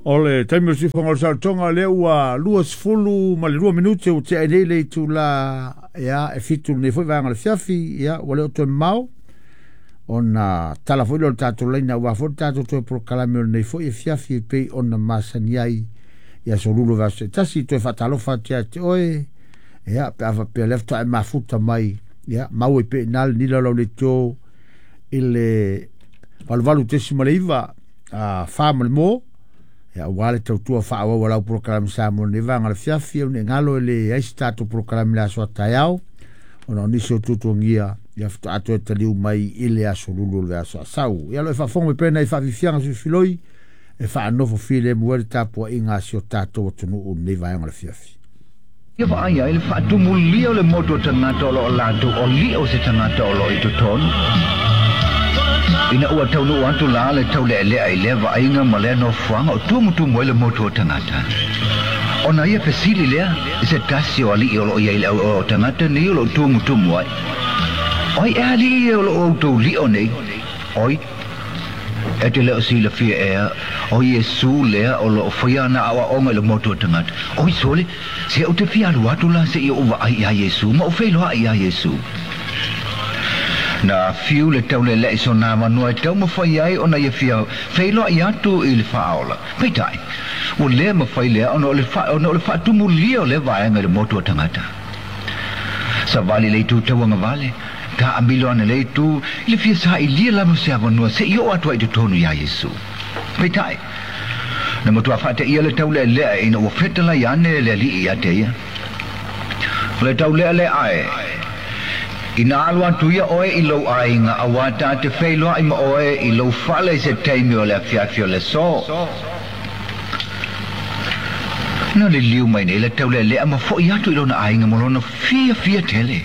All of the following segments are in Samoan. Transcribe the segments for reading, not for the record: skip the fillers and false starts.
O le taimi o le siufofoga o le saolotoga lea ua 22 minute ua tea ai nei le itula ia e 7 lenei foi vaega o le afiafi, ia ua le o toe mamao ona tala foi lea o le tatou laina aua foi le tatou toe polokalame o lenei foi afiafi e pei ona masani ai i aso lulu o vaiaso taitasi. Toe faatalofa atu ia te oe, ia pe a faapea lea faatoa e mafuta mai, ia mau ai pea i ina le nila o lau leitio i le 88.9 a fa ma le mo, ia aua le tautua faaauau a lau polokalame Samoa i lenei vaega o le afiafi. Au ne i galo e leai se tatou polokalame i le aso a taeao ona o nisi o tuatuagia, ia faatoa toe taliu mai i le aso lulu o le vaiaso a sau. Ia lo e faafofoga mai pea nai faafiafiaga filifiloi e faanofo filemu ai le tapuaiga a si o tatou atunuu i lenei vaega o le afiafi. Ia vaai ai le faatumulia o le motu o tagata o lo o latou o li'a o se tagata o lo o i totonu. Ina ua taunuu atu la le taulealea i lea vaaiga ma lea nofoaga o tumutumu ai le motu o tagata. Ona ia fesili lea i se tasi o ali'i o lo o i ai i le au o tagata nei o lo o tumutumu ai, O ai ea ali'i ia o lo o outou li'o nei? Oi, e te le o silafia ea, o Iesu lea o lo o faia ana aoaoga i le motu o tagata. Oi sole, se ou te fia alu atu la seia ou vaai iā Iesu ma ou feiloai iā Iesu. Na fiu le tauleleʻi sona avanoa e taumafai ai ona ia fia feiloai atu i le Faaola. Peitai, ua le mafai lea ona o le ona o le faatumulia o lea vaega i le motu o tagata. Savali le itu tauagavale, taamilo ana le itu i le fia sailia lava o se avanoa seia oo atu ai i totonu iā Iesu. Peitai, na matua faateia le taulealea ina ua fetalai ane le Alii ia te ia. O le taulealea ae, Ina alu atu ia oe i lou aiga auā ta te feiloai ma oe i lou fale i se taimi o le afiafi o le aso. Na liliu mai nei le taulealea ma foʻi atu i lona aiga mo lona fiafia tele.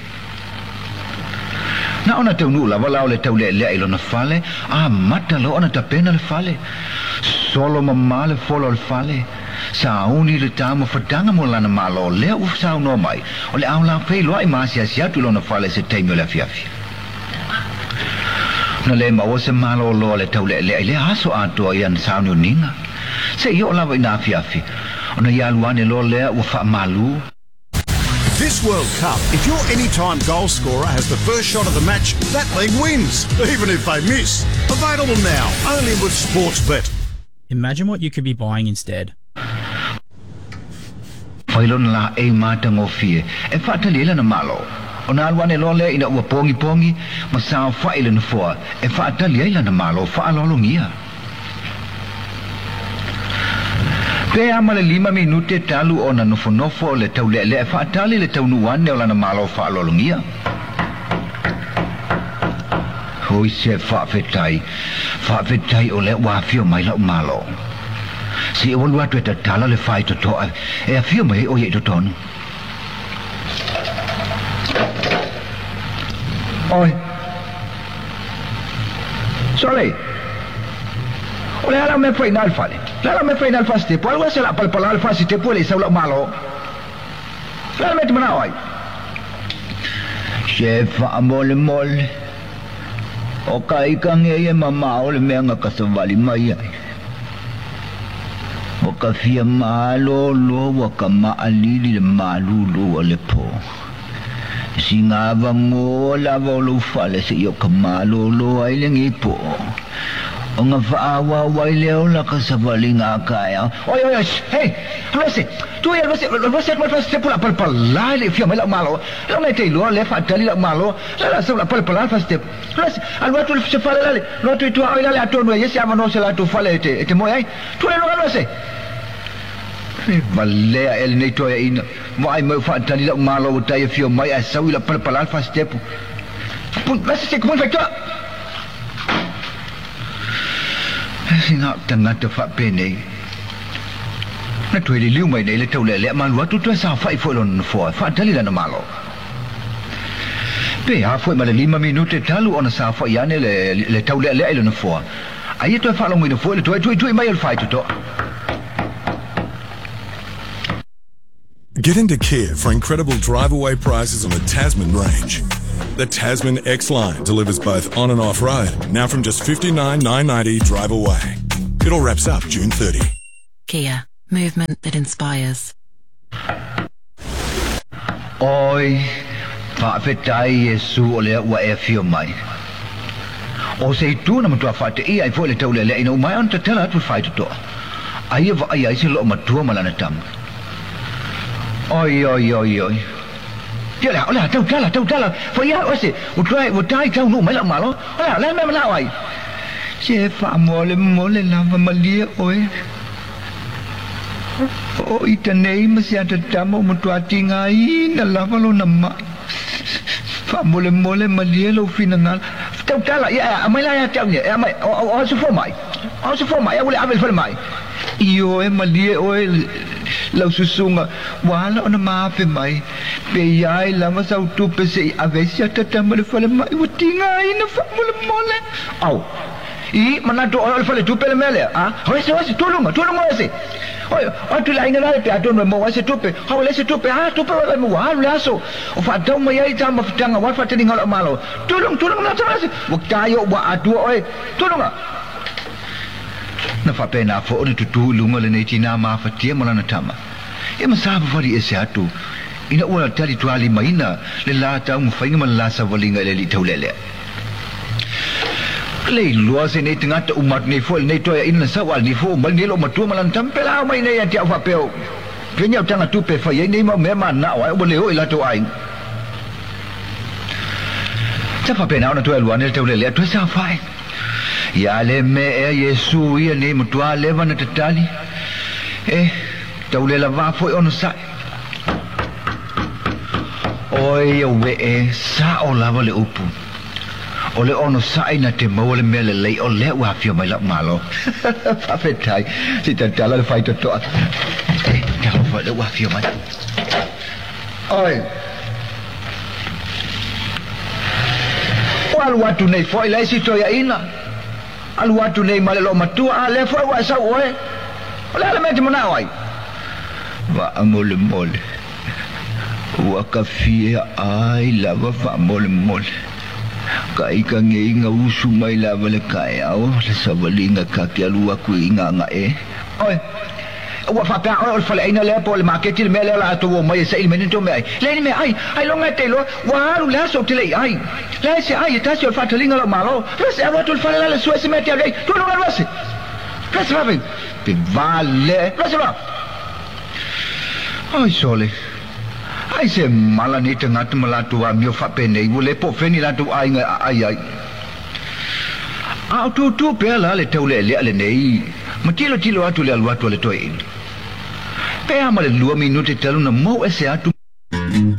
Na ona taunuu lava la o le taulealea i lona fale, amata loa ona tapena le fale. Solo mamā le fola o le fale. Sauni le tā ma fataga mo lana Malo lea ua saunoa mai, o le ao la feiloai ma asiasi atu i lona fale i se taimi o le afiafi. Na le maua se malōlō a le taulealea i lea aso atoa i ana sauniuniga. Se i oo lava i na afiafi, ona ia alu ane loa lea ua faamalū. This World Cup, if your anytime goal scorer has the first shot of the match, that league wins, even if they miss. Available now, only with Sportsbet. Imagine what you could be buying instead. Fai lona laei matagofie e faatali ai lana malo. Ona alu ane loa lea ina ua pogipogi ma saofai i le nofoa e faatali ai lana malo faaaloalogia. Pe a ma le lima minute talu ona nofonofo le taulealea e faatali le taunuu ane o lana malo faaaloalogia. Oi se faafetai, faafetai o lea ua afio mai lau malo. Se i ou alu atu e tatala le faitotoa e afio mai ai ʻo ia i totonu. Oi. Sole! O le a lau mea fai i ina i le fale? O le a lau mea fai i ina i le fasitepu? Alu ese o le a palapala le fasitepu e le i sau lau malo. O le a le mea e te manao ai? Se faamolemole, o ka ika nei e mamao le mea na ka savali mai ai. O ka fia malōlō ua ka maʻalili le malūlū o le pō. Sina avanoa lava o lou fale seia o ka malōlō ai lenei pō. Ona faaauau ai lea o laka savaliga a taeao. Oi, oi, oi, hei, alu ese, tu ia, alu ese, alu ese atu mai le fasitepu o le a palapala e le i fia mai lau malo. Lau mea e te iloa lea faatali lau malo, la la sau o le a palapala le fasitepu. Alu ese, alu atu i se fale lale, alu atu i tua oi lale atonu e i ai se avanoa o se latou fale e te, e te moe ai. Tu le luga, alu ese. E valea ea lenei toeaina, vaai mai o faatali lau malo ua tai afio mai ae sau i la palapala le fasitepu. Pun, lasi se kumui faitoa! Sina au tagata faapenei. Na toe liliu mai nei le taulealea ma alu atu toe saofai foi lona nofoa e faatali lana malo. Pe a foi ma le lima minute talu ona saofai ane le, le taulealea i le nofoa. Aia toe faalogoina foi le toe tuitui mai o le faitotoa. Get into Kia for incredible drive-away prices on the Tasman range. The Tasman X-Line delivers both on and off-road, now from just $59,990 drive away. It all wraps up June 30. Kia, movement that inspires. Oi, faafetai Iesu o lea ua e afio mai. O se itu na matua faateia ai foi le taulealea ina ua maea ona tatala atu le faitotoa. Aia vaaia ai se loomatua ma lana tama. Oi, oi, oi, oi. Ia le a, o le a, tautala, tautala, faia oe se, ua toe, ua tai taunuu mai lau malo. O le a, o le a le mea manao ai? Se faamolemole lava malie oe. O ita nei ma se ata tama ua matua tigaina lava lona mai. Faamolemole malie lou finagalo. Tautala, ia, e aumai la ia te au nei, e aumai, o, o, o aso fua mai. O aso fua mai, aua le ave i le falemai. Ioe malie oe lau susuga, ua ala ona maafe mai. Pe i ai lava sau tupe se i ave ai si ata tama i le falemai, ua tigaina faamolemole. Au. I manatu oe o le faletupe le mea lea, a? Hoi se, hoi se, tuluga, tuluga oe se. Oi, o atu i le aiga la pe atonu e maua ai se tupe. Hau e leai se tupe, a tupe oe e maua, alu le aso. O faatau mai ai ta mafutaga aua le faataliga o lau malo. Tuluga, tuluga na tala se. Ua tai ou ua atua oe. Tuluga. Na faapena foi ona tutu i luga lenei tinā mafatia ma lana tama. Ia ma savavali ese atu, ina ua talitualimaina le la taumafaiga ma le la savaliga i le alii taulealea. Le iloa se nei tagata uma atu nei foi lenei toeaina na sau a lenei foi mai lenei loomatua ma lana tama pe la ao mai nei ia te au faapea o fea ni au taga tupe e fai ai nei mau mea manao ai ua le oo i latou aiga. Sa faapena ona toe alu ane le taulelea toe saofai. Ia le mea ea Iesu ia nei matua leva na tatali e taulelavā foi ona sae. Oi auee, sao lava le upu. O le onosai na te maua le mea lelei o lea ua afio mai lau Malo. Faafetai, se i tatala le faitotoa. E, talofa, lea ua afio mai. Oi. Ua alu atu nei foi le isi toeaina. Alu atu nei ma le loomatua, a lea foi ua e sau oe. O le a le mea e te manao ai? Faamolemole. Ua ka fia ai lava faamolemole. Ka ika ngei nga usu mai lava le kaeao le savaliga ka ke alu aku i Gagae. Oi! Ua faapea oe o le faleaina lea po o le maketi le mea lea o le a tou omai e saili mai nei tou meaai. Leai ni meaai, ailoga e te iloa, ua alu le aso ou te le i ai. Leai se ai e tasi o le faataliga o lau Malo. Rese, alu atu i le fale la le sue se mea e te alu ai. Tuu luga Rese! Rese vave! Pe vale! Rese loa! Oi sole! Ai se mala nei tagata ma latou amio faapenei, ua le po fea ni latou aiga e aai ai. A o tūtū pea la le taulealea lenei ma tilotilo atu i le alu atu a le toeaina. Pe a ma le lua minute talu na mou ese atu